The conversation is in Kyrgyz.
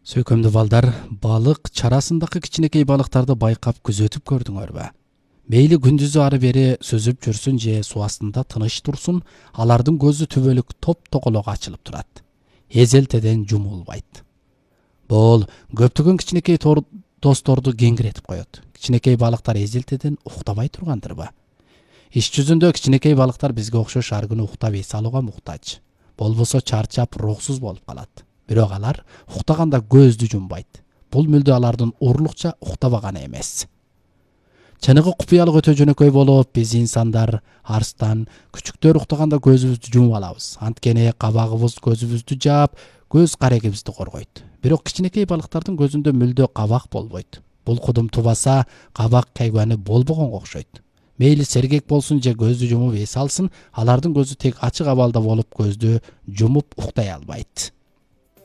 Сүйкөмдүү балдар, балык чарасындагы кичинекей балыктарды байкап күзөтүп көрдүңөрбү? Мейли күндүзү ары бери сүзүп жүрсүн же суу астында тыныч турсун, алардын көзү түбөлүк топ-токолок ачылып турат. Эзелтеден жумулбайт. Бул көптөгөн кичинекей досторду кеңиретип коет. Кичинекей балыктар эзелтеден уктабай тургандырбы? Иш жүзүндө кичинекей балыктар бизге окшош ар күнү уктап эс алууга муктаж. Болбосо чарчап, рухсуз болуп калат. Бирок алар уктаганда көздү жумбайт. Бул мүлдө алардын урлукча уктабаганы эмес. Чыныгы купуялык өтө жөнөкөй болуп, биз инсандар, арстан, күчүктөр уктаганда көзүбүздү жумуп алабыз. Анткени кабагыбыз көзүбүздү жаап, көз карегибизди коргойт. Бирок кичинекей балыктардын көзүндө мүлдө кабак болбойт. Бул кудум тубаса, кабак кайгуаны болбогонго окшойт. Мейли сергек болсун же көздү жумуп эс алсын, алардын көзү тек ачык абалда болуп көздү жумуп уктай албайт.